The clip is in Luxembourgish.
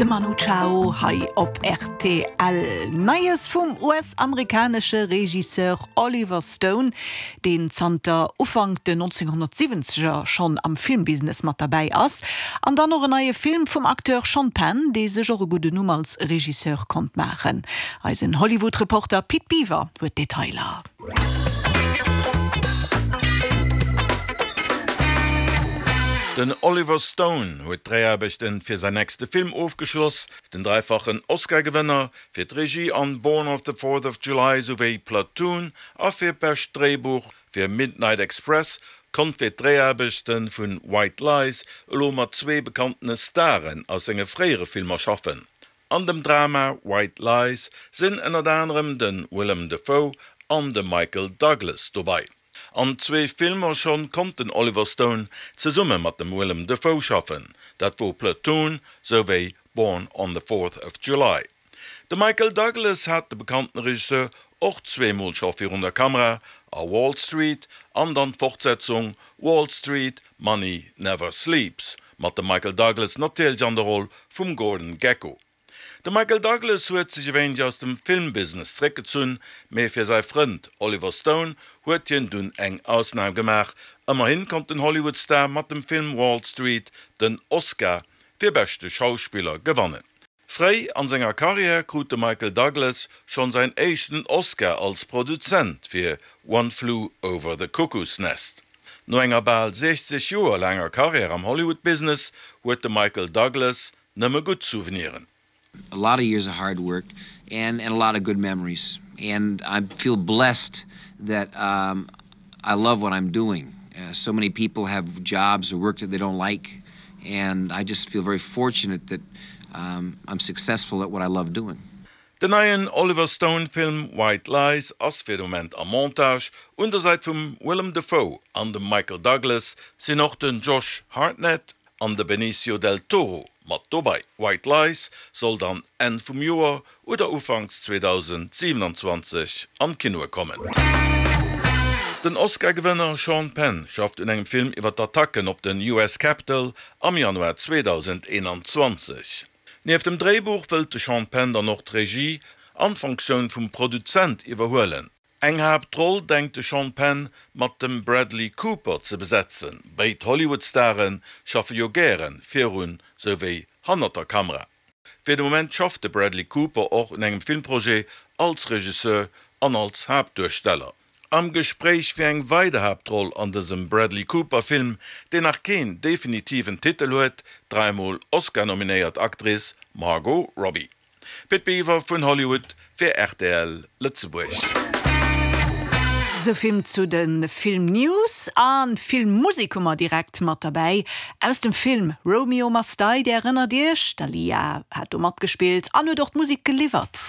De Manu Chao hei op rtl. Neies vum US-amerikanesche Regisseur Oliver Stone, deen zanter Ufank den 1970er schonn am Filmbusiness mat derbäi ass. An dann och en neie Film vum Acteur Sean Penn, dee sech och e gudden Numm als Regisseur konnt maachen. Eisen Hollywood-Reporter Pit Biwer huet d'Detailer. Den Oliver Stone huet d'Dréiaarbechten fir säin nächste Film ofgeschloss. Den dräifachen Oscar-Gewënner fir d'Regie an Born of the Fourth of July souwéi Platoon a fir bescht Dréibuch fir Midnight Express konnt fir d'Dréiaarbechte vun White Lies elo mat zwee bekanntene Staren aus senge fréiere Filmer schaffen. An dem Drama White Lies sinn ënnert anerem de Willem Dafoe an de Michael Douglas dobei. An zwee Filmer schonn konnt den Oliver Stone zesumme mat dem Willem Dafoe schaffen, dat wor Platoon souwéi Born on the Fourth of July. De Michael Douglas hat de bekannten Regisseur och zweemol scho virun der Kamera a Wall Street an dann d'Fortsetzung Wall Street, Money Never Sleeps, mat dem Michael Douglas natierlech an der Roll vum Gordon Gekko. De Michael Douglas huet sech e wéineg aus dem Filmbusiness zeréckgezunn, mee fir säi Frënd Oliver Stone huet hien dunn eng Ausnam gemaach. Ëmmerhin konnt den Hollywood-Star mat dem Film Wall Street den Oscar fir beschte Schauspiller gewannen. Fréi an senger Karriär krut de Michael Douglas schonn säin éischten Oscar als Produzent fir One Flew Over the Cuckoo's Nest. No enger bal 60 Joer laanger Karriär am Hollywood-Business huet de Michael Douglas nëmme gutt Souveniren. A lot of years of hard work and and a lot of good memories and I feel blessed that I love what I'm doing. So many people have jobs or work that they don't like and I just feel very fortunate that I'm successful at what I love doing. Den neien Oliver Stone Film White Lies ass fir de Moment am Montage. Un der Säit vum Willem Dafoe an dem Michael Douglas sinn och den Josh Hartnett an de Benicio del Toro mat dobei. White Lies soll dann Enn vum Joer oder ufanks 2027 an d'Kinoe kommen. Den Oscar-Gewënner Sean Penn schafft un engem Film iwwer d'Attacken op den US Capitol am Januar 2021. Nieft dem Dréibuch wëllt de Sean Penn dann och d'Regie an d'Fonktioun vum Produzent iwwerhuelen. Eng Haaptroll denkt de Sean Penn mat dem Bradley Cooper ze besetzen. Béid Hollywood-Stare schaffe jo gäre virun souwéi hannert der Kamera. Fir de Moment schafft de Bradley Cooper och un engem Filmprojet als Regisseur an als Haaptduersteller. Am Gespréich fir eng weider Haaptroll an dësem Bradley Cooper Film, deen nach keen definitiven Titel huet, d'dräimol Oscar-nominéiert Actrice Margot Robbie. Pit Biwer vun Hollywood fir rtl Lëtzebuerg. Sou vill zu de Film-News a Filmmusek hu mer direkt mat derbäi aus dem Film Romeo Must Die. Dir erënnert Iech, d'Aaliyah hat do matgespillt an huet och d'Musek geliwwert.